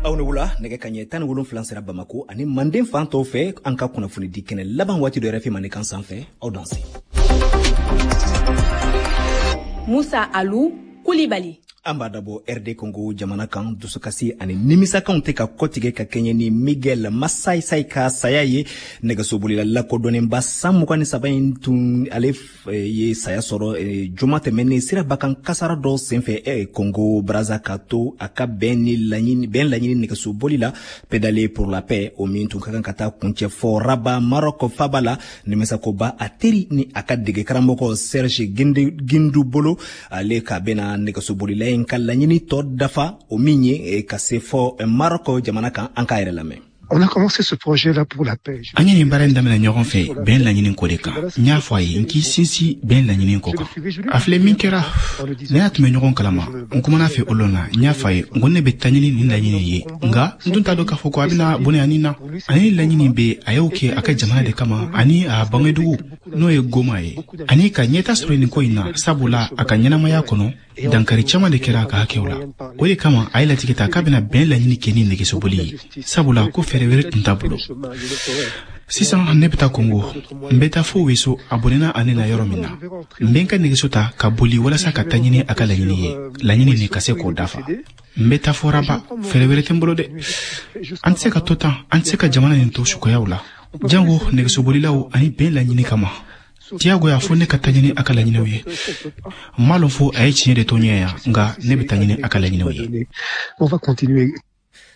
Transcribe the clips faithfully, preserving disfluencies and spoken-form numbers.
Aw ni wula. Nɛgɛ kaɲɛ tan ni wolonfila sera Bamako ani Manden fan tɔw fɛ. An ka kunnafoni di kɛnɛ laban waati dɔ R F I Mandenkan sanfɛ. Aw danse. Musa Alu Kulibali. An b'a dabɔ R D Congo jamana kan. Dusukasi ani nimisakanw tɛ ka kɔtigɛ ka kɛɲɛ ni Miguel Masaisai ka saya ye. Nɛgɛsobolila lakodɔnnenba san mugan ni saba in tun, ale ye saya sɔrɔ juma tɛmɛnen siraba kan kasara dɔ senfɛ Congo Braza, ka to a ka bɛn ni laɲini, bɛn laɲini nɛgɛsoboli la, Pédale pour la paix, o min tun ka kan ka taa kuncɛ fɔ Rabat, Maroc faba la. Nimisakoba a teri ni a ka dege karamɔgɔ Serge Gindu bolo, ale ka bɛna nɛgɛsobolila in ka laɲini tɔ dafa, o min ye ka se fɔ Maroc jamana kan. An k'a yɛrɛ lamɛn. On a commencé ce projet-là pour la paix. An ye nin baara in daminɛ ɲɔgɔn fɛ bɛn laɲini ko de kan. N y'a fɔ a ye n k'i sinsin bɛn laɲini ko kan. A filɛ min kɛra, ne y'a tun bɛ ɲɔgɔn kalama. N kumana fɛ o lon na, n y'a fɔ a ye n ko ne bɛ taa ɲini nin laɲini ye, nka n tun t'a dɔn k'a fɔ ko a bɛna bonya nin na. Ani laɲini bɛ a y'o kɛ a ka jamana de kama ani a bangedugu, n'o ye Goma ye, ani ka ɲɛta sɔrɔ nin ko in na, sabula a ka ɲɛnamaya kɔnɔ, dankari caman de kɛra a ka hakɛw la. O de kama a ye latigɛ ta k'a bɛna bɛn laɲini kɛ ni nɛgɛsoboli ye, sabula ko fɛɛrɛ wɛrɛ tun t'a bolo. Sisan ne bɛ taa Kongo, n bɛ taa fo Weso, a bɔnɛna ale na yɔrɔ min na. N bɛ n ka nɛgɛso ta ka boli walasa ka taa ɲini a ka laɲini ye, laɲini nin ka se k'o dafa. N bɛ taa fo Rabat. Fɛɛrɛ wɛrɛ tɛ n bolo dɛ. An tɛ se ka to tan, an tɛ se ka jamana nin to sukoyaw la, jango nɛgɛsobolilaw ani bɛn laɲini kama. Diyagoya fo ne ka taa ɲini a ka laɲiniw ye. N m'a lɔn fo a ye tiɲɛ de to ɲɛ yan, nka ne bɛ taa ɲini a ka laɲiniw ye. On va continuer.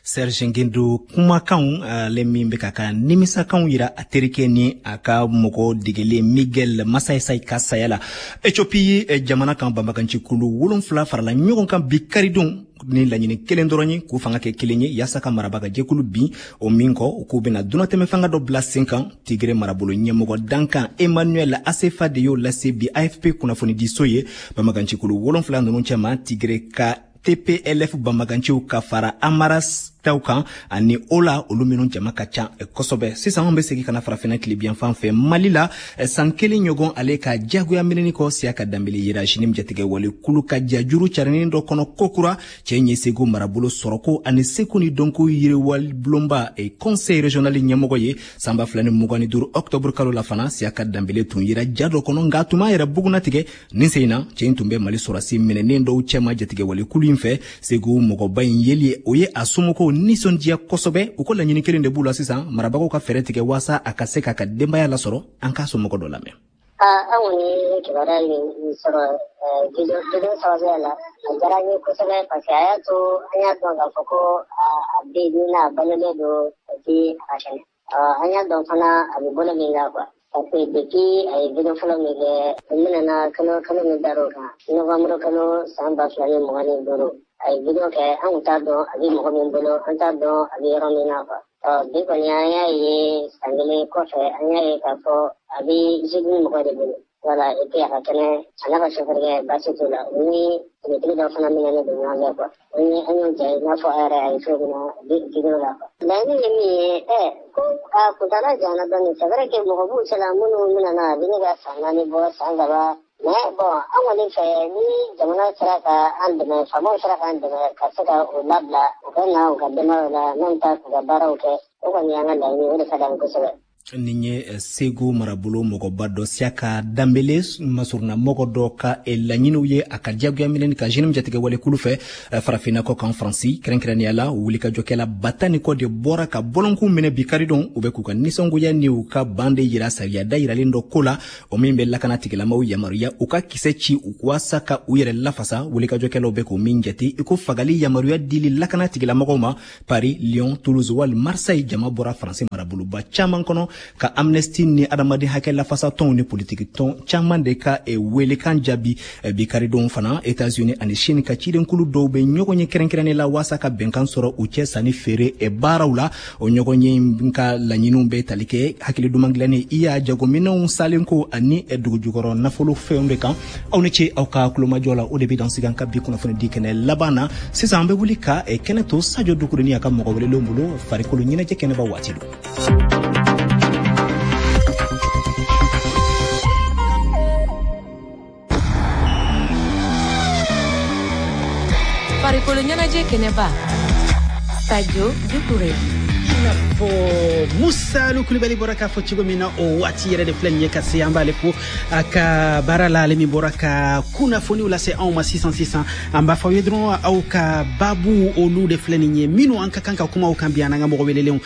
Serge Ngendo kumakanw, ale min bɛ ka ka nimisakanw yira a terikɛ ni a ka mɔgɔ degelen Miguel Masaisai ka saya la. Ethiopie jamana kan, banbagancikulu wolonfila farala ɲɔgɔn kan bi karidon ni laɲini kelen dɔrɔn ye, k'u fanga kɛ kelen ye yaasa ka marabaga jɛkulu bin. O min kɔ, u k'u bɛna dunatɛmɛ fanga dɔ bila sen kan. Tigre marabolo ɲɛmɔgɔ dankan Emmanuel Asefa de y'o lase bi A F P kunnafonidiso ye. Banbagancikulu wolonfila ninnu cɛma, Tigre ka T P L F banbaganciw ka fara Amara taw kan ani o la, olu minnu jama ka ca kosɛbɛ. Sisan an bɛ segin ka na Farafinna tilebiyan fan fɛ, Mali la. San kelen ɲɔgɔn ale ka jagoya minɛni kɔ, Siyaka Danbele yera JNIM jatigɛ wale kulu ka jajuru carinin dɔ kɔnɔ kokura. Cɛ ye Segu marabolo sɔrɔko ani seko ni dɔnko yiriwali bulonba, conseil régional ɲɛmɔgɔ ye. San ba fila ni mugan ni duuru octobre kalo la fana, Siyaka Danbele tun yera ja dɔ kɔnɔ, nka a tun b'a yɛrɛ bugunnatigɛ. Nin sen in na, cɛ in tun bɛ Mali sɔrɔsi minɛnen dɔw cɛma jatigɛ wale kulu in fɛ. Segu mɔgɔba in yeli, o ye a somɔgɔw nisɔndiya kosɛbɛ. U ko laɲini kelen de b'u la sisan: marabagaw ka fɛɛrɛ tigɛ waasa a ka se k'a ka denbaya lasɔrɔ. An k'a somɔgɔ dɔ lamɛn. An kɔni ye kibaruya min sɔrɔ video sababuya la, a diyara n ye kosɛbɛ, parce que a y'a to an y'a dɔn k'a fɔ ko a bɛ yen n'a balolen don et puis a ka kɛnɛ. An y'a dɔn fana a bɛ bolo min kan quoi, parce que depuis a ye video fɔlɔ min kɛ, o minɛna kalo kalo min dar'o kan, novembre kalo san ba fila ni mugan ni duuru, a ye video kɛ, an kun t'a dɔn a bɛ mɔgɔ min bolo, an t'a dɔn a bɛ yɔrɔ min na quoi. Bi kɔni an y'a ye san kelen kɔfɛ, an y'a ye k'a fɔ a bɛ JNIM mɔgɔ de bolo, voilà, et puis a ka kɛnɛ, a n'a ka chauffeur baasi t'u la, u ni finitigi dɔ fana minɛnen don ɲɔgɔn fɛ quoi. O ni an y'o ja i n'a fɔ a yɛrɛ a ye cogo min na video la quoi. Laɲini ye min ye, ɛ ko a kuntaala janyana dɔɔnin, c'est vrai que mɔgɔ b'u cɛla minnu minɛna a bɛ ne ka san naani bɔ, san saba, mais bon, an kɔni fɛ, ni jamana sera ka an dɛmɛ, faamaw sera k'an dɛmɛ ka se ka u labila, u ka na u ka denbayaw la, n'an bɛ taa k'u ka baaraw kɛ, o kɔni y'an ka laɲini, o de ka d'an ye kosɛbɛ. Nin ye Segu marabolo mɔgɔba dɔ, Siyaka Danbele masuruna mɔgɔ dɔ ka laɲiniw ye a ka diyagoya minɛni ka JNIM jatigɛ walekulu fɛ. Farafinna kɔ kan, Faransi kɛrɛnkɛrɛnnenya la, wulikajɔkɛla ba tan ni kɔ de bɔra ka bɔlɔnkun minɛ bi karidon. U bɛ k'u ka nisɔngoya ni u ka ban de yira sariya dayiralen dɔ ko la, o min bɛ lakana tigilamaw yamaruya u ka kisɛ ci u waasa ka u yɛrɛ lafasa. Wulikajɔkɛlaw bɛ k'o min jate i ko fagali yamaruya dili lakana tigilamɔgɔw ma. Paris, Lyon, Toulouse wali Marseille, jama bɔra Faransi maraboloba caman kɔnɔ ka Amnesty ni adamaden hakɛ lafasatɔnw ni politiki tɔn caman de ka welekan jaabi bi karidon fana. États-Unis ani Chine ka cidenkulu dɔw bɛ ɲɔgɔn ye kɛrɛnkɛrɛnnen la waasa ka bɛnkan sɔrɔ u cɛ sanni feere baaraw la. O ɲɔgɔn ye ka laɲiniw bɛ tali kɛ hakili duman dilanni, i y'a jagominɛnw salenko ani dugujukɔrɔ nafolo fɛnw de kan. Aw ni ce aw ka kulomajɔ la. O de bɛ dan sigi an ka bi kunnafoni di kɛnɛ laban na. Sisan an bɛ wuli ka kɛnɛ to Sajo Dukuruni a ka mɔgɔ welelenw bolo. Farikolo ɲɛnajɛ kɛnɛba waati don. Farikolo ɲɛnajɛ kɛnɛba. Sadio Doucouré. Fo Musa Kulibali bɔra k'a fɔ cogo min na, o waati yɛrɛ de filɛ nin ye ka se. An b'ale fo a ka baara la, ale min bɔra ka kunnafoniw lase anw ma sisan sisan. An b'a fɔ aw ye dɔrɔn, aw ka baabu, olu de filɛ nin ye minnu an ka kan ka kuma o kan bi, an n'an ka mɔgɔ welelenw,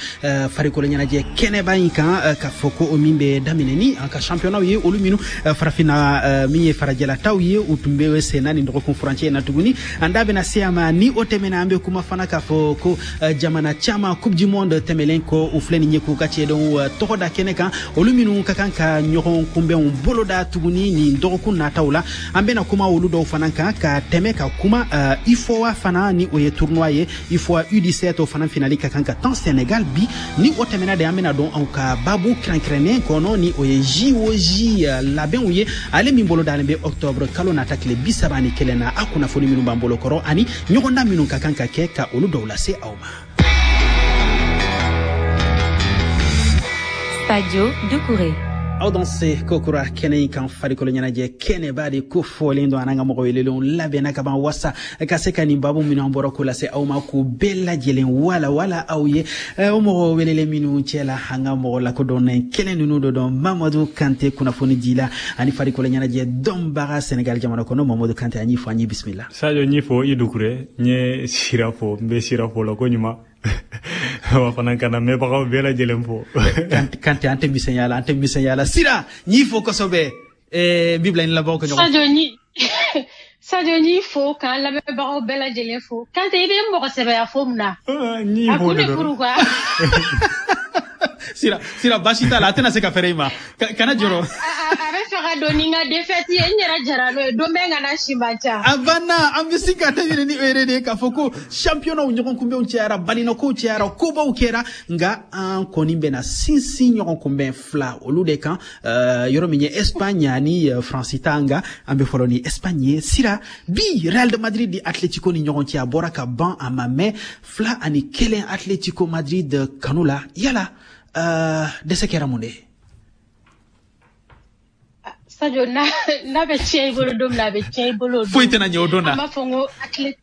farikolo ɲɛnajɛ kɛnɛba in kan, k'a fɔ ko o min bɛ daminɛ ni an ka championnat ye, olu minnu farafinna min ye farajɛlataw ye, u tun bɛ senna nin dɔgɔkun furancɛ in na tuguni. An da bɛna se a ma. Ni o tɛmɛna, an bɛ kuma fana k'a fɔ ko jamana caman, Coupe du monde tɛmɛlen kɔ, u filɛ nin ye k'u ka cɛdenw tɔgɔ da kɛnɛ kan, olu minnu ka kan ka ɲɔgɔn kunbɛnw boloda tuguni nin dɔgɔkun nataw la. An bɛna kuma olu dɔw fana kan, ka tɛmɛ ka kuma UFOA fana, ni o ye tournoi ye, UFOA U dix-sept, o fana finali ka kan ka tan Sénégal bi. Ni o tɛmɛna de, an bɛna dɔn anw ka babu kɛrɛnkɛrɛnnen kɔnɔ, ni o ye J O J labɛnw ye, ale min bolo dalen bɛ octobre kalo nata tile bi saba ni kelen na. A kunnafoni minnu b'an bolo kɔrɔ ani ɲɔgɔndan minnu ka kan ka kɛ, ka olu dɔw lase aw ma. Sadio Doucouré. Aw dan se kokura kɛnɛ in kan, farikolo ɲɛnajɛ kɛnɛba de ko fɔlen don. An n'an ka mɔgɔ welelenw labɛnna ka ban wasa ka se ka nin babu minnu an bɔra k'o lase aw ma, k'u bɛɛ lajɛlen wala wala aw ye. O mɔgɔ welelen minnu cɛ la, an ka mɔgɔ lakodɔnnen kelen ninnu dɔ dɔn, Mamadu Kante, kunnafoni di la ani farikolo ɲɛnajɛ dɔnbaga Senegal jamana kɔnɔ. Mamadu Kante, an y'i fɔ, an y'i bisimila. Sadio, n y'i fo, i Dukure. N ye sira fo, n bɛ sira fo la ko ɲuman wa fana ka na mɛnbagaw bɛɛ lajɛlen fo. Kante, an tɛ misɛnya la, an tɛ misɛnya la. Sira, n y'i fo kosɛbɛ. N b'i bila i ni labanw ka ɲɔgɔn. Sadio, ni Sadio, n y'i fo k'an lamɛnbagaw bɛɛ lajɛlen fo. Kante, i bɛ mɔgɔ sɛbɛya fo mun na? N y'i A fo kun de de dɔrɔn. Pourquoi? Sira, Sira, baasi t'a la, a tɛna se ka fɛrɛ i ma. Kana jɔrɔ. A bɛ fɛ ka don ni n ka défaite ye, n yɛrɛ jara n'o ye, don bɛ n kana si man ca. A banna. An bɛ sin ka daminɛ ni o yɛrɛ de ye, k'a fɔ ko championnat ɲɔgɔn kunbɛnw cayara, balinakow cayara, kobaw kɛra, nka an kɔni bɛna sinsin ɲɔgɔn kunbɛn fila olu de kan, yɔrɔ min ye Espagne ani France ta. Nka an bɛ fɔlɔ ni Espagne ye. Sira, bi Real de Madrid di Atletico ni ɲɔgɔn cɛ, a bɔra ka ban, a ma mɛn, fila ani kelen Atletico Madrid kanu la. Yala dɛsɛ kɛra mun de ye? Sadio, n'a n'a bɛ tiɲɛ i bolo don min na, a bɛ tiɲɛ i bolo o don. Foyi tɛna ɲɛ o don na. An b'a fɔ n ko athlète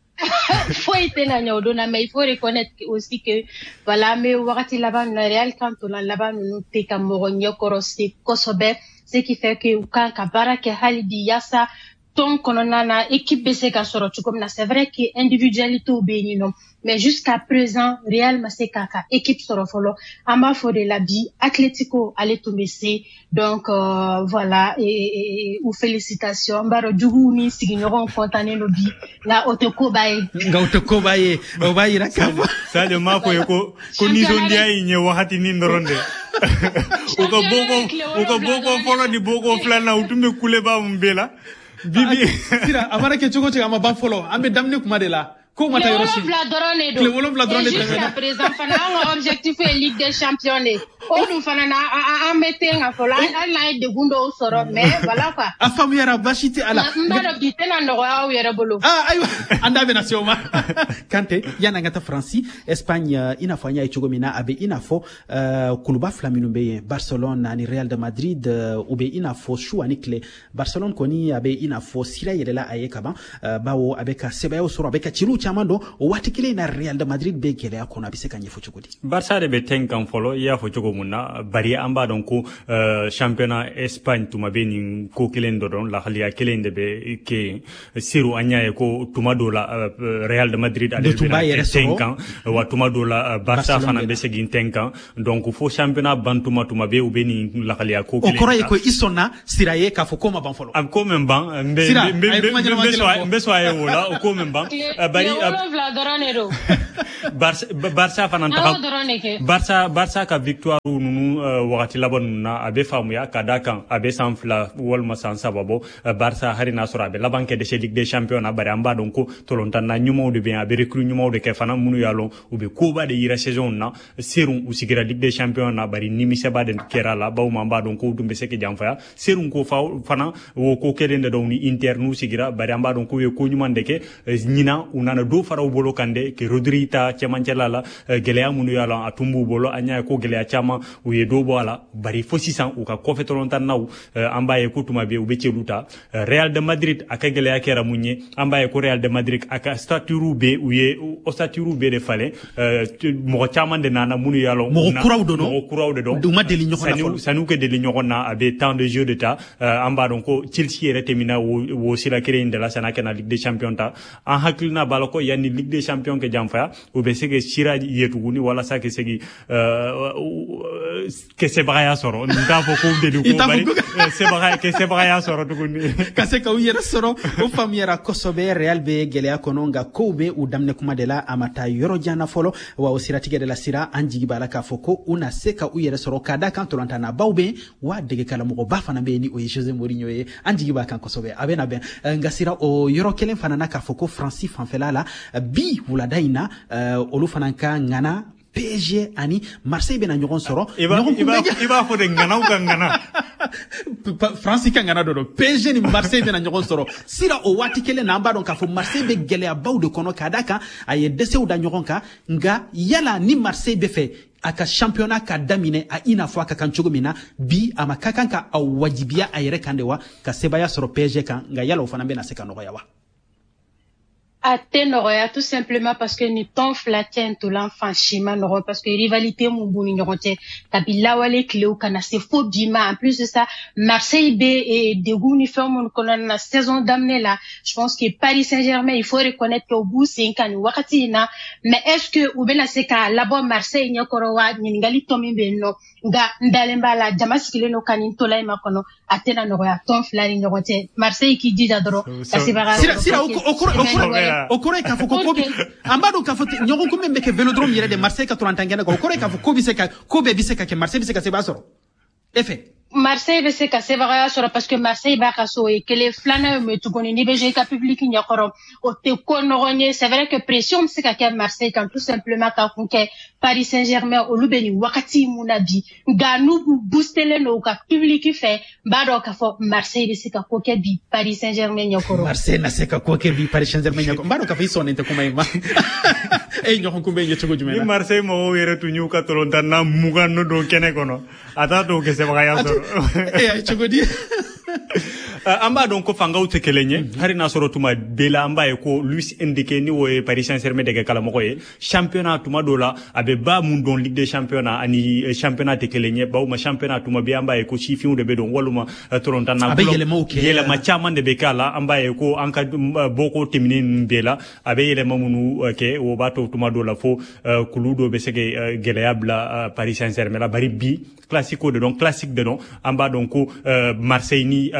foyi tɛna ɲɛ o don na, mais il faut reconnaître aussi que voilà, an bɛ wagati laban min na, Real kan tolan laban ninnu tɛ ka mɔgɔ ɲɛkɔrɔ se kosɛbɛ, ce qui fait que u kan ka baara kɛ hali bi yaasa tɔn kɔnɔna na équipe bɛ se ka sɔrɔ cogo min na. C'est vrai que individualité bɛ yen nɔ, mais jusqu'à présent Real ma se k'a ka équipe sɔrɔ fɔlɔ. An b'a fɔ de la bi Atletico ale tun bɛ se. Donc euh, voilà, et, et, et, u félicitations. N b'a dɔn juguw ni sigiɲɔgɔnw kɔntannen don bi, nka o tɛ koba ye. Nka o tɛ koba ye, o b'a yira k'a fɔ Sadio, m'a fɔ ye ko ko nisɔndiya in ye wagatinin dɔrɔn de. U ka boko u ka boko fɔlɔ ni boko filanan, u tun bɛ kuleba mun bɛɛ la bibi. Sira, a mana kɛ cogo o cogo, a ma ban fɔlɔ, an bɛ daminɛ kuma de la, ko ma taa yɔrɔ si. Tile wolonwula dɔrɔn de don. Tile wolonwula dɔrɔn de Et jusqu'à tɛmɛna. présent fana, an ka objectif ye Ligue des champions de. O dun fana na, an bɛ ten ka fɔlɔ, hali n'an ye degun dɔw sɔrɔ, mais voilà quoi. A faamuyara, baasi tɛ a la. N b'a dɔn bi tɛna nɔgɔya aw yɛrɛ bolo. Ah, ayiwa, an da bɛna se o ma. Kante, yanni an ka taa Faransi, Espagne, i n'a fɔ an y'a ye cogo min na, a bɛ i n'a fɔ kuluba fila minnu bɛ yen, Barcelone ani Real de Madrid, u bɛ i n'a fɔ su ani tile. Barcelone kɔni, a bɛ i n'a fɔ sira yɛlɛla a ye kaban, bawo a bɛ ka sɛbɛyaw sɔrɔ, a bɛ ka ciliw caman dɔn. O waati kelen in na, Real de Madrid bɛ gɛlɛya kɔnɔ. A bɛ se ka ɲɛfɔ cogo di? Barça de bɛ tɛn kan fɔlɔ, i y'a fɔ cogo mun na, bari an b'a dɔn ko uh, championnat Espagne tuma bɛ nin ko kelen dɔ dɔn, lahaliya kelen de bɛ kɛ yen. Seru, an y'a ye ko tuma dɔw la uh, Real de Madrid ale tun b'a yɛrɛ bɛ tɛn sɔrɔ. kan wa, tuma dɔw la uh, Barça fana bɛ segin tɛn kan. Donc fo championnat ban tuma, tuma bɛ u bɛ nin lahaliya ko O kelen. kɔrɔ ye ko i sɔnna Sira ye k'a fɔ ko ma ban fɔlɔ. A ko min ban, n bɛ Sira, n bɛ a ye kuma ɲɛnama n bɛ kelen sɔn fɔ. n bɛ sɔn a ye o la, o ko min ban. Tile Bari wolonwula dɔrɔn de don. Barça Barça fana An taga y'o dɔrɔn de kɛ. Barça Barça ka victoire ninnu uh, wagati laban ninnu na, a bɛ faamuya ka da kan a bɛ san fila walima san saba bɔ. uh, Barça, hali n'a sɔrɔ a bɛ laban kɛ dɛsɛ Ligue des champions na, bari an b'a dɔn ko tolontanna ɲumanw de bɛ yen, a bɛ recrue ɲumanw de kɛ fana minnu y'a lɔn u bɛ koba de yira saison na. Seru, u sigira Ligue des champions na, bari nimisɛba de kɛra la, bawo an b'a dɔn ko u tun bɛ se ka janfaya. Seru ko fa fana o ko kelen de dɔn ni Inter n'u sigira, bari an b'a dɔn k'u ye ko ɲuman de kɛ. Ɲinan u nana dɔ fara u bolo kan de ke Rodri ta. la cɛmancɛla la gɛlɛya minnu y'a la a tun b'u bolo. An y'a ye ko gɛlɛya caman u ye dɔ bɔ a la, bari fo sisan u ka kɔfɛ tɔlɔntannaw an b'a ye ko tuma bɛɛ u bɛ cɛlu ta. Real de Madrid a ka gɛlɛya kɛra mun ye? An b'a ye ko Real de Madrid a ka statut bɛ u ye o statut bɛɛ de falen, mɔgɔ caman de nana minnu y'a lɔn mɔgɔ kuraw don, mɔgɔ kuraw de don, u ma deli ɲɔgɔn na fɔlɔ, san'u ka deli ɲɔgɔn na a bɛ temps de jeu de ta. An b'a dɔn ko Chelsea yɛrɛ tɛmɛna wo sira kelen in de la san'a ka na Ligue des Champions ta. An hakilina b'a la ko yanni Ligue des Champions kɛ janfaya u bɛ se ka sira ye tuguni walasa ka segin ka sebagaya sɔrɔ. N t'a fɔ k'u deli ko bari sebagaya ka sebagaya sɔrɔ tuguni ka se k'u yɛrɛ sɔrɔ. O faamuyara kosɛbɛ. Real bɛ gɛlɛya kɔnɔ, nka kow bɛ u daminɛ kuma de la, a ma taa yɔrɔ jan na fɔlɔ. Wa o siratigɛ de la sira an jigi b'a la k'a fɔ ko u na se ka u yɛrɛ sɔrɔ ka da kan tolontannabaw bɛ yen, wa degekaramɔgɔba fana bɛ yen ni o ye Jose Mourinho ye. An jigi b'a kan kosɛbɛ, a bɛ na bɛn. Nka sira o yɔrɔ kelen fana na k'a fɔ ko Faransi fanfɛla la bi wulada in na olu fana ka ŋana P S G ani Marseille bɛna ɲɔgɔn sɔrɔ. I b'a fɔ de ŋanaw ka ŋana. Faransi ka ŋana dɔ don. P S G ni Marseille bɛna ɲɔgɔn sɔrɔ. Sira o waati kelen na an b'a dɔn k'a fɔ Marseille bɛ gɛlɛyabaw de kɔnɔ k'a da kan a ye dɛsɛw da ɲɔgɔn kan. Nka yala ni Marseille bɛ fɛ a ka championnat ka daminɛ a i n'a fɔ a ka kan cogo min na bi, a ma ka kan ka a wajibiya a yɛrɛ kan de wa ka sebaaya sɔrɔ P S G kan? Nka yala o fana bɛna se ka nɔgɔya wa? A tɛ nɔgɔya tout simplement parce que ni tɔn fila cɛ ntolan fan si ma nɔgɔ, parce que rivalité mun b'u ni ɲɔgɔn cɛ kabi lawale tilew ka na se fo bi ma. En plus de ça, Marseille bɛ degun ni fɛn minnu kɔnɔna na saison daminɛ la, je pense que Paris Saint-Germain, il faut reconnaître que u b'u sen kan nin wagati in na, mais est-ce que u bɛna se k'a labɔ Marseille ɲɛkɔrɔ wa? Ɲininkali tɔ min bɛ yen nɔ, nka n dalen b'a la jama sigilen don ka nin ntolan in makɔnɔ, a tɛna nɔgɔya tɔn fila ni ɲɔgɔn cɛ. Marseille k'i jija dɔrɔn ka sebaga sira. O kɔrɔ o kɔrɔ ye k'a fɔ ko ko an b'a dɔn k'a fɔ ɲɔgɔn kun min bɛ kɛ Vélodrome yɛrɛ de Marseille ka tolantan kɛnɛ kan, o kɔrɔ ye k'a fɔ ko bɛ se ka ko bɛɛ bɛ se ka kɛ, Marseille bɛ se ka sebaya sɔrɔ e fɛ? Marseille bɛ se ka sebagaya sɔrɔ parce que Marseille b'a ka so, o ye kelen. Filanan ye mun ye tuguni? N'i bɛ jouer i ka public ɲɛkɔrɔ, o tɛ ko nɔgɔn ye. C'est vrai que pression bɛ se ka kɛ Marseille kan tout simplement ka kun kɛ Paris Saint-Germain olu bɛ nin wagati mun na bi, nka n'u boostelen don u ka public fɛ, n b'a dɔn k'a fɔ Marseille bɛ se ka ko kɛ bi Paris Saint-Germain ɲɛkɔrɔ. Marseille na se ka ko kɛ bi Paris Saint-Germain ɲɛkɔrɔ. N b'a dɔn k'a fɔ i sɔnnen tɛ kuma in ma. E ye ɲɔgɔn kunbɛn ye cogo jumɛn na? Ni Marseille mɔgɔw yɛrɛ tun y'u ka tolontanna mugan don kɛnɛ kɔnɔ, a t'a to u kɛ sebagaya sɔrɔ. E y'a ye cogo di? An b'a dɔn ko fangaw tɛ kelen ye. Hali n'a sɔrɔ tuma bɛɛ la an b'a ye ko Luis Enrique ni o ye Paris Saint-Germain dege karamɔgɔ ye, championnat tuma dɔ la a bɛ ba mun dɔn Ligue des Champions ani championnat tɛ kelen ye. Bawo ma championnat tuma bɛɛ an b'a ye ko sifinw de bɛ don walima tolontanna yɛlɛma caman de bɛ k'a la. An b'a ye ko an ka bɔko tɛmɛnen ninnu bɛɛ la a bɛ yɛlɛma minnu kɛ, o b'a to tuma dɔ la fo kulu dɔ bɛ se ka gɛlɛya bila Paris Saint-Germain la. Bari bi classico de don, classique de don. An b'a dɔn ko Marseille ni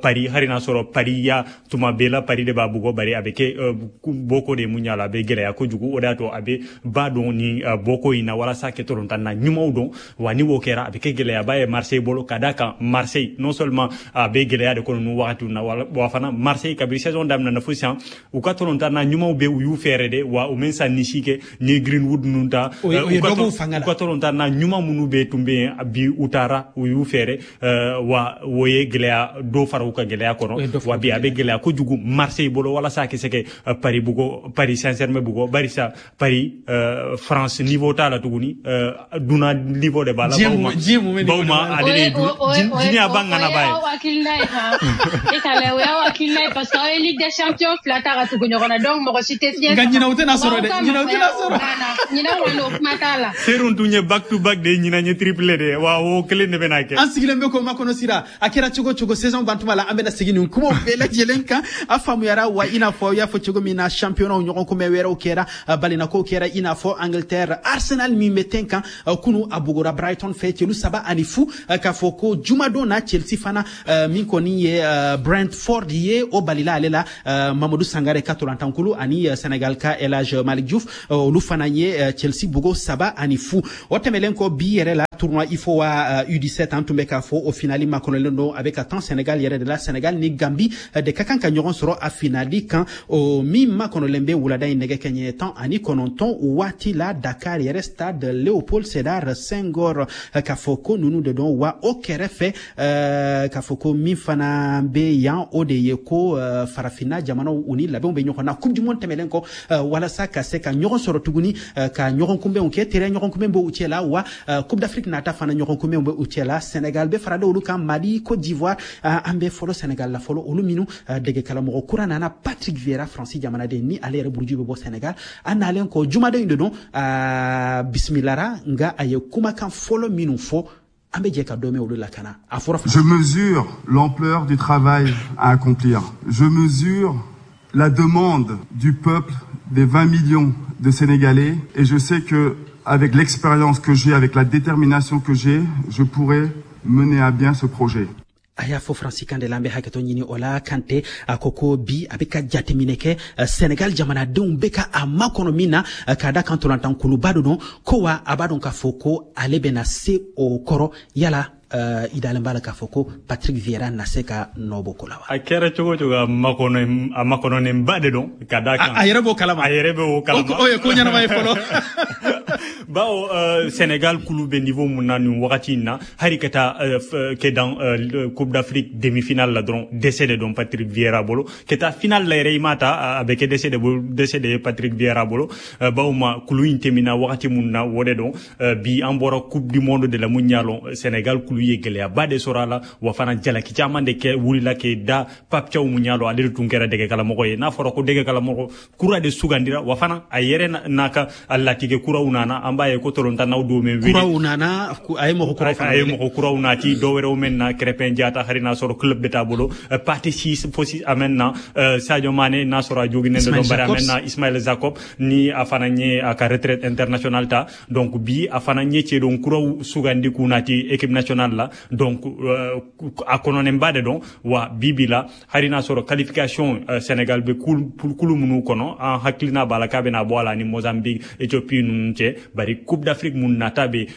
Paris, hali n'a sɔrɔ Paris ya tuma bɛɛ la Paris de b'a bugɔ, bari a bɛ kɛ bɔko de mun y'a la, a bɛ gɛlɛya kojugu. O de y'a to a bɛ ba dɔn ni bɔko in na walasa kɛ tolontanna ɲumanw dɔn. Wa ni o kɛra a bɛ kɛ gɛlɛyaba ye Marseille bolo, ka d'a kan Marseille non seulement a bɛ gɛlɛya de kɔnɔ nin wagatiw na, wa fana Marseille kabini saison daminɛ na fo sisan u ka tolontanna ɲumanw bɛ u y'u fɛɛrɛ de, wa u mɛ san ni si kɛ ni Greenwood ninnu ta, u ka tolontanna ɲuman minnu bɛ tun bɛ yen bi u taara u y'u fɛɛrɛ, wa o ye gɛlɛya dɔ fara u ka gɛlɛya kɔnɔ. Wa bi a bɛ gɛlɛya kojugu Marseille bolo walasa a ka se ka Paris bugɔ, Paris Saint-Germain bugɔ, barisa Paris France niveau t'a la tuguni, dunan niveau de b'a la. Bawma ale de ye diɲɛ ba ŋanaba ye. O y'aw hakilina ye han, e ka lajɛ, o y'aw hakilina ye parce que aw ye Ligue des Champions fila ta ka tugu ɲɔgɔn na, donc mɔgɔ si tɛ fiɲɛ. Nka ɲinɛ u tɛna sɔrɔ dɛ, ɲinɛ u tɛna sɔrɔ. Ɲinɛ kɔni o kuma t'a la. Serun tun ye back to back de ye, ɲinɛ ye triplé de ye, wa o kelen de bɛna kɛ. An sigilen bɛ k'o makɔnɔ sira, a kɛra cogo cogo saison bantuma la an bɛna segin nin kumaw bɛɛ lajɛlen kan. A faamuyara wa i n'a fɔ i y'a fɔ cogo min na championnat ɲɔgɔn kunbɛn wɛrɛw kɛra, balinakow kɛra i n'a fɔ Angleterre Arsenal min bɛ ten kan kunu a bugura Brighton fɛ celu saba ani fu. K'a fɔ ko jumadon na Chelsea fana min kɔni ye Brentford ye, o balila ale la Mamadou Sangare ka tolantankulu ani Senegal ka El Hadji Malick Diouf, olu fana ye Chelsea bugo saba ani fu. O tɛmɛlen kɔ bi yɛrɛ la Tournoi UFOA U dix-sept an tun bɛ k'a fɔ o finali makɔnɔlen don, a bɛ ka tan Sénégal yɛrɛ de la. Sénégal ni Gambie de ka kan ka ɲɔgɔn sɔrɔ a finali kan, o min makɔnɔlen bɛ wulada in nɛgɛ kɛɲɛ tan ani kɔnɔntɔn waati la, Dakar yɛrɛ, stade Léopold Sédar Senghor. K'a fɔ ko ninnu de don wa. O kɛrɛfɛ, k'a fɔ ko min fana bɛ yan, o de ye ko farafinna jamanaw, u ni labɛnw bɛ ɲɔgɔn na Coupe du monde tɛmɛnen kɔ, walasa ka se ka ɲɔgɔn sɔrɔ tuguni ka ɲɔgɔn kunbɛnw kɛ. Terrain ɲɔgɔn kunbɛn b'u cɛ la wa, Coupe d'Afrique nata fana ɲɔgɔn kunbɛnw bɛ u cɛ la. Sénégal bɛ fara olu kan, Mali, Côte d'Ivoire. An bɛ fɔlɔ Sénégal la fɔlɔ, olu minnu dege karamɔgɔ kura nana, Patrick Vieira, Faransi jamanaden, ni ale yɛrɛ buruju bɛ bɔ Sénégal. A nalen kɔ jumaden in de don, bisimilara, nka a ye kumakan fɔlɔ minnu fɔ, an bɛ jɛ ka dɔ mɛn olu la ka na a fɔra. Je mesure l'ampleur du travail à accomplir. Je mesure la demande du peuple, des vingt millions de Sénégalais, et je sais que avec l'expérience que j'ai, avec la détermination que j'ai, je pourrai mener à bien ce projet. A y'a fɔ faransikan de la, an bɛ hakɛtɔ ɲini o la. Kante a ko ko bi a bɛ ka jateminɛ kɛ Senegal jamanadenw bɛ ka a makɔnɔ min na, k'a da kan tolantankuluba dɔ don ko wa, a b'a dɔn k'a fɔ ko ale bɛna se o kɔrɔ. Yala uh, i dalen b'a la k'a fɔ ko Patrick Vieira na se ka nɔ bɔ ko la wa? A kɛra cogo cogo, a makɔnɔ a makɔnɔnenba de don, ka da kan a yɛrɛ b'o kalama. A yɛrɛ b'o kalama. O ye ko ɲɛnama ye fɔlɔ. Bawo uh, Sénégal kulu bɛ niveau mun na nin wagati in na, hali ka taa uh, kɛ dans uh, Coupe d'Afrique demi-finale la dɔrɔn, dɛsɛ de don Patrick Vieira bolo. Ka taa finale la yɛrɛ, i m'a ta, a bɛ kɛ dɛsɛ de bolo, dɛsɛ de ye Patrick Vieira bolo, uh, bawo ma kulu in tɛmɛna wagati mun na, o de don. uh, bi an bɔra Coupe du monde de la mun y'a lɔn, Sénégal kulu ye gɛlɛyaba de sɔrɔ a la wa fana jalaki caman de kɛ wulila k'e da Pape Thiaw mun y'a lɔn, ale de tun kɛra dɛgɛkalamɔgɔ ye. N'a fɔra ko dɛgɛkalamɔgɔ kura de sugandira wa fana, a yɛrɛ n'a ka latigɛ kuraw nana, an b'a ye ko tolontannaw dɔw mɛn wele kuraw nana, a ye mɔgɔ kuraw fana, a ye mɔgɔ kuraw nati, dɔw wɛrɛw mɛn na, Crépin Diatta, hari n'a sɔrɔ club bɛ t'a bolo, Pathé Ciss fosi a mɛn na, Sadio Mané n'a sɔrɔ a joginen de don, bari a mɛn na, Ismaël Jacob ni a fana ye a ka retraite internationale ta. Donc bi a fana ye cɛdon kuraw sugandi k'u nati équipe nationale la. Donc a kɔnɔnenba de don wa. Bi bi la, hari n'a sɔrɔ qualification, Sénégal bɛ kulu minnu kɔnɔ, an hakilina b'a la k'a bɛna bɔ a la ni Mozambique, Éthiopie ninnu cɛ, bari Coupe d'Afrique mun nata bɛ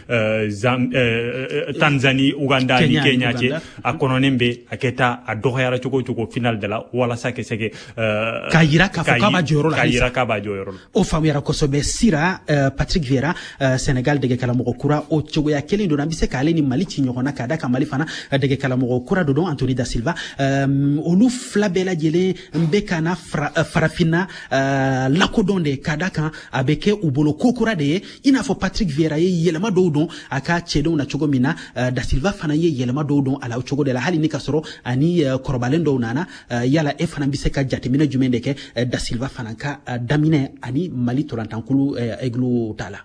Tanzanie, Uganda ni Kenya cɛ, a kɔnɔnen bɛ a kɛ taa a dɔgɔyara cogo o cogo finale de la, walasa ka se k'a yira k'a fɔ k'a b'a jɔyɔrɔ la. K'a yira k'a b'a jɔyɔrɔ la. O faamuyara kosɛbɛ. Sira, Patrick Vieira, Sénégal dɛgɛkalamɔgɔ kura, o cogoya kelen don an bɛ se k'ale ni Mali ci ɲɔgɔn na, k'a da kan Mali fana dɛgɛkalamɔgɔ kura dɔ don, Anthony da Silva. Olu fila bɛɛ lajɛlen bɛ ka na farafinna lakodɔn de, k'a da kan a bɛ kɛ u bolo ko kura de ye. I n'a fɔ Patrick Vieira ye yɛlɛma dɔw don a ka cɛdenw na cogo min na, da Silva fana ye yɛlɛma dɔw don a la o cogo de la, hali ni ka sɔrɔ ani kɔrɔbalen dɔw nana. Yala e fana bɛ se ka jateminɛ jumɛn de kɛ da Silva fana ka daminɛ ani Mali tolantankulu Aigle ta la?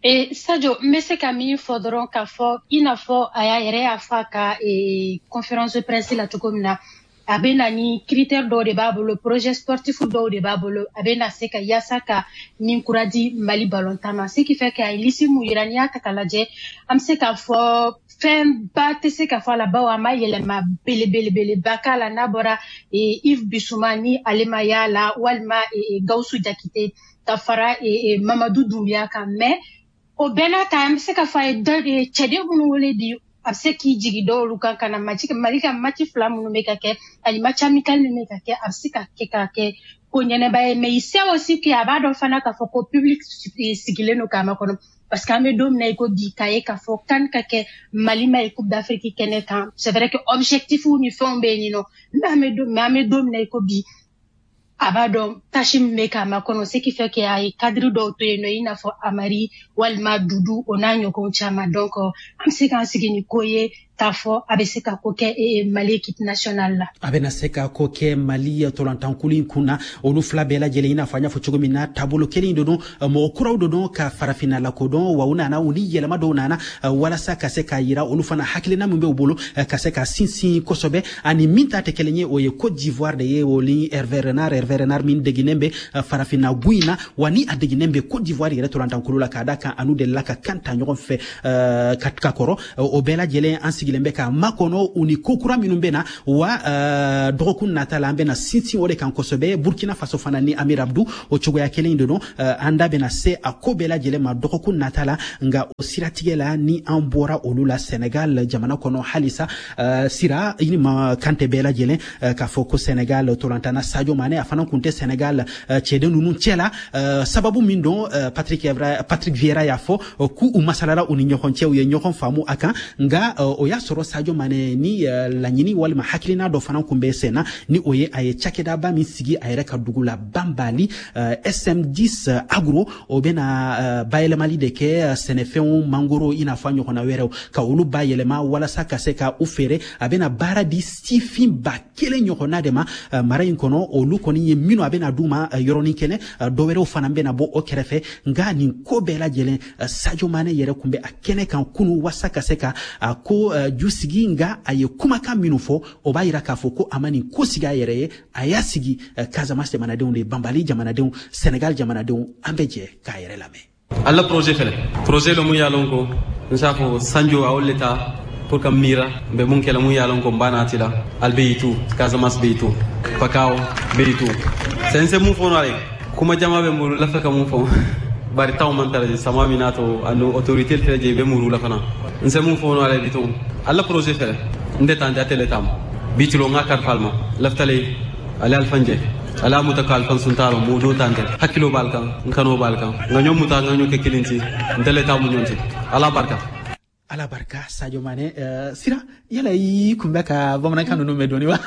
E Sadio, n bɛ se ka min fɔ dɔrɔn, k'a fɔ i n'a fɔ a y'a yɛrɛ y'a fɔ a ka conférence de presse la cogo min na, a bɛ na ni critère dɔw de b'a bolo, projet sportif dɔw de b'a bolo, a bɛ na se ka yaasa ka nin kura di Mali ballontan ma. Ce qui fait que a ye liste mun yira, n'i y'a ta k'a lajɛ, an bɛ se k'a fɔ fɛnba tɛ se ka fɔ a la, bawo a ma yɛlɛma belebelebeleba k'a la, n'a bɔra Yves Bissouma ni ale ma y'a la, walima Gawusu Jakite ka fara Mamadou Doumbia kan. Mais o bɛɛ n'a ta, an bɛ se k'a fɔ a ye cɛden minnu wele bi, a bɛ se k'i jigi dɔw kan ka na match, Mali ka match fila minnu bɛ ka kɛ ani match amical min bɛ ka kɛ, a bɛ se ka kɛ ka kɛ ko ɲɛnɛba ye. Mais il sait aussi que a b'a dɔn fana k'a fɔ ko public sigilen don k'a makɔnɔ, parce que an bɛ don min na i ko bi, k'a ye k'a fɔ CAN ka kɛ Mali ma ye Coupe d'Afrique kɛnɛ kan, c'est vrai que objectif ni fɛnw bɛ yen nɔ, mais an bɛ don mais an bɛ don min na i ko bi, a b'a dɔn tâche min bɛ k'a makɔnɔ, ce qui fait que a ye cadre dɔw to yen nɔ, i n'a fɔ Amari walima Dudu, o n'a ɲɔgɔnw caman. Donc an bɛ se k'an sigi ni ko ye k'a fɔ a bɛ se ka ko kɛ Mali équipe nationale la. A bɛna se ka ko kɛ Mali tolantankulu in kun na. Olu fila bɛɛ lajɛlen, i n'a fɔ an y'a fɔ cogo min na, taabolo kelen de don, mɔgɔ kuraw de don ka farafinna lakodɔn wa, u nana u ni yɛlɛma dɔw nana walasa ka se k'a yira olu fana hakilina min bɛ u bolo ka se ka sinsin kosɛbɛ. Ani min ta tɛ kelen ye, o ye Côte d'Ivoire de ye, o ni Hervé Renard. Hervé Renard min deginen bɛ farafinna gun in na wa, ni a deginen bɛ Côte d'Ivoire yɛrɛ tolantankulu la, k'a da kan anu delila ka kan ta ɲɔgɔn fɛ ka kɔrɔ. O bɛɛ lajɛlen an sigi sigilen bɛ k'a makɔnɔ u ni ko kura minnu bɛ na wa dɔgɔkun nata la an bɛna sinsin o de kan kosɛbɛ. Burkina Faso fana ni Amir Abdou o cogoya kelen in de don, an da bɛna se a ko bɛɛ lajɛlen ma dɔgɔkun nata la. Nka o siratigɛ la ni an bɔra olu la Senegal jamana kɔnɔ halisa, Sira i ni ma Kante bɛɛ lajɛlen k'a fɔ ko Senegal tolantana Sadio Mane a fana kun tɛ Senegal cɛden ninnu cɛ la. Sababu min don, Patrick Evra, Patrick Vieira y'a fɔ k'u u masalala u ni ɲɔgɔn cɛ, u ye ɲɔgɔn faamu a kan. Nka o y'a sɔrɔ Sadio Mane ni laɲini walima hakilina dɔ fana kun bɛ sen na, ni o ye a ye cakɛdaba min sigi a yɛrɛ ka dugu la Bambali, S M dix Agro, o bɛna bayɛlɛmali de kɛ sɛnɛfɛnw mangoro i n'a fɔ a ɲɔgɔnna wɛrɛw ka olu bayɛlɛma walasa ka se ka u feere. A bɛna baara di sifin ba kelen ɲɔgɔnna de ma mara in kɔnɔ, olu kɔni ye minnu a bɛna d'u ma yɔrɔnin kelen, dɔ wɛrɛw fana bɛna bɔ o kɛrɛfɛ. Nka nin ko bɛɛ lajɛlen Sadio Mane yɛrɛ kun bɛ a kɛnɛ kan kunu walasa ka se ka a ko ju sigi. Nka a ye kumakan minnu fɔ o b'a yira k'a fɔ ko a ma nin ko sigi a yɛrɛ ye, a y'a sigi Casamance jamanadenw de, Bambali jamanadenw, Senegal jamanadenw. An bɛ jɛ k'a yɛrɛ lamɛn. Alla projet fɛnɛ projet lo mun ye lon ko n s'a fɔ Sanjo a wole ta pour ka mira be mun kɛla mun ye lon ko n b'a nati la al be yitu Casamance be yitu Pakao be yitu sen se mun fɔ no ale kuma jama be mbulu la ka mun fɔ bari taw man tara sama minato anu autorité tele je be muru la fana n se mun fɔ no ale bitu alla projet fɛnɛ nde tan jatele tam bitulo ngakar falma laftale ale alfanje ala mutakal kan suntaro mudu tante hakilo balkan nkano balkan nganyo muta nganyo ke kilinti ndele tamu nyonti ala barka ala barka. Sadio Mane, uh, Sira yala i kun bɛ ka bamanankan ninnu mɛn dɔɔni wa?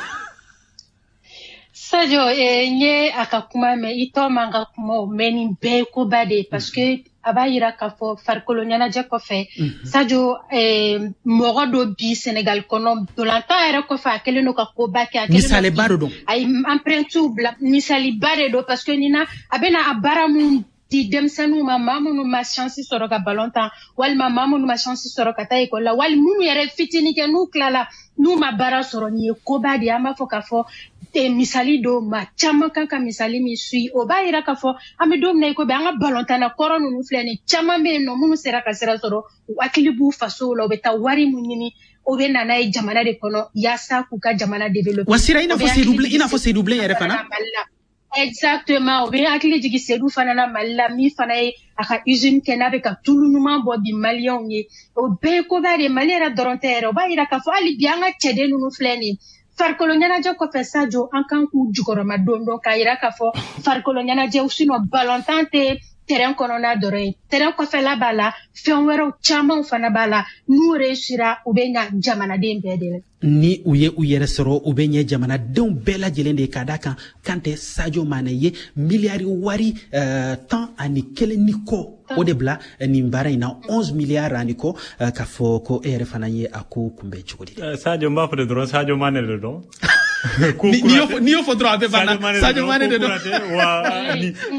Sadio, eh, n ye a ka kuma mɛn, i tɔ man ka kuma o mɛn, nin bɛɛ ye koba de ye parce que a b'a yira k'a fɔ farikolo ɲɛnajɛ kɔfɛ Sadio eh, mɔgɔ dɔ bi Senegal kɔnɔ dolantan yɛrɛ kɔfɛ a kɛlen don ka koba kɛ, a misaliba de don, a ye empreinte bila, misaliba de don parce que nin na a bɛna a baara mun di denmisɛnninw ma, maa minnu ma chance sɔrɔ ka ballon tan walima maa minnu ma chance sɔrɔ ka taa ekɔli la wali minnu yɛrɛ fitinin kɛ n'u tilala n'u ma baara sɔrɔ, nin ye koba de ye. An b'a fɔ k'a fɔ misali don, maa caman kan ka misali min suit. O b'a yira k'a fɔ an bɛ don min na i ko bi an ka balontanna kɔrɔ ninnu filɛ nin caman bɛ yen nɔ minnu sera ka sira sɔrɔ, u hakili b'u fasow la, u bɛ taa wari mun ɲini o bɛ na n'a ye jamana de kɔnɔ yaasa k'u ka jamana développer. Wa Sira, i n'a fɔ Seydou Bilen, i n'a fɔ Seydou Bilen yɛrɛ fana. Exactement, o bɛ hakili jigin Seydou fana na Mali la, min fana ye a ka usine kɛ n'a bɛ ka tulu ɲuman bɔ bi maliyɛnw ye, o bɛɛ ye koba de ye. Mali yɛrɛ dɔrɔn tɛ yɛrɛ, o b'a yira k'a fɔ hali bi an ka cɛden ninnu filɛ nin ye farikolo ɲɛnajɛ kɔfɛ Sadio an kan k'u jukɔrɔma don dɔn k'a yira k'a fɔ farikolo ɲɛnajɛ sinon balontan tɛ terrain kɔnɔna dɔrɔn ye, terrain kɔfɛla b'a la, fɛn wɛrɛw camanw fana b'a la, n'u réussira u bɛ ɲa jamanaden bɛɛ de la. Ni u ye u yɛrɛ sɔrɔ u bɛ ɲɛ jamanadenw bɛɛ lajɛlen de ka da kan. Kante, Sadio Mane ye miliyari wari uh, tan ani kelen ni kɔ o de bila nin baara in na, onze miliyari ani kɔ, uh, k'a fɔ ko e yɛrɛ fana ye a ko kunbɛn cogo di? Sadio, n b'a fɔ de dɔrɔn Sadio Mane de don. N'i y'o fɔ dɔrɔn a bɛ ban na, Sadio Mane de don. Wa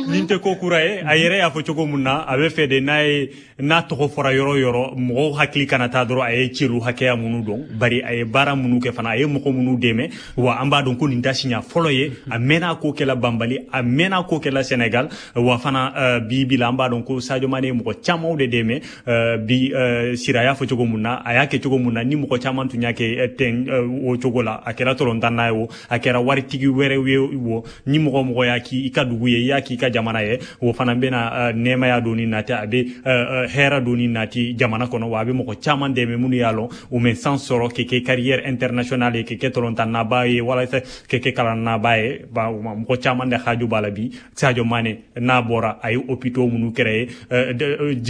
nin tɛ ko kura ye, a yɛrɛ y'a fɔ cogo mun na a bɛ fɛ de n'a ye n'a tɔgɔ fɔra yɔrɔ yɔrɔ mɔgɔw hakili kana taa dɔrɔn a ye celu hakɛya minnu dɔn, bari a ye baara minnu kɛ fana, a ye mɔgɔ minnu dɛmɛ. Wa an b'a dɔn ko nin ta siɲɛ fɔlɔ ye, a mɛnna ko kɛla Banbali, a mɛnna ko kɛla Senegal. Wa fana bi bi la an b'a dɔn ko Sadio Mane ye mɔgɔ camanw de dɛmɛ bi. Sira y'a fɔ cogo mun na, a y'a kɛ cogo mun na, ni mɔgɔ caman tun y'a kɛ ten o cogo la, a kɛra tolontanna ye o, a kɛra waritigi wɛrɛw ye o, ni mɔgɔ mɔgɔ y'a k'i ka dugu ye, i y'a k'i ka jamana ye, o fana bɛna nɛɛmaya don ni nati, a bɛ hɛrɛ don ni nati jamana kɔnɔ. Wa a bɛ mɔgɔ caman dɛmɛ minnu y'a lɔn u mɛ san sɔrɔ k'i kɛ carrière internationale ye, k'i kɛ tolontannaba ye walasa k'i kɛ kalannaba ye. Mɔgɔ caman de haju b'a la bi. Sadio Mane n'a bɔra a ye hôpitaux minnu créé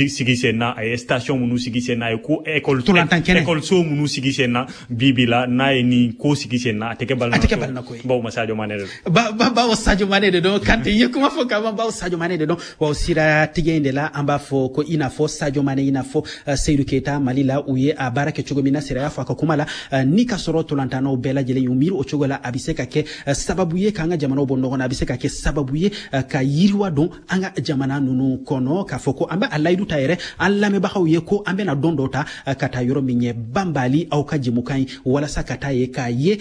sigi sen na, a ye station minnu sigi sen na, a ye ko école école so minnu sigi sen na, bi bi la n'a ye nin ko sigi sen na a tɛ kɛ balimako ye. Bawo Sadio Mane de don. Ba bawo Sadio Mane de don. Kante, i ye kuma fɔ ka ban, bawo Sadio Mane de don. Wa o siratigɛ in de la an b'a fɔ ko i n'a fɔ Sadio Mane, i n'a fɔ Seydou Keita Mali la, u ye a baara kɛ cogo min na, Sira y'a fɔ a ka kuma la, ni ka sɔrɔ tolontannaw bɛɛ lajɛlen y'u miiri o cogo la, a bɛ se ka kɛ sababu ye k'an ka jamanaw bɔ ɲɔgɔn na, a bɛ se ka kɛ sababu ye ka yiriwa don an ka jamana ninnu kɔnɔ, k'a fɔ ko an bɛ a layidu ta yɛrɛ an lamɛnbagaw ye ko an bɛna don dɔ ta ka taa yɔrɔ min ye Banbali aw ka jɛmukan ye, walasa ka taa ye k'a ye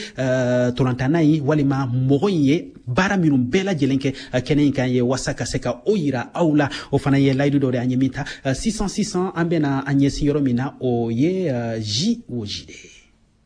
tolontanna in walima mɔgɔ in ye baara minnu bɛɛ lajɛlen kɛ kɛnɛ in kan ye, walasa ka se ka o yira aw la. O fana ye layidu dɔ de an ye min ta. Sisan sisan an bɛna an ɲɛsin yɔrɔ min na, o ye J O J de ye.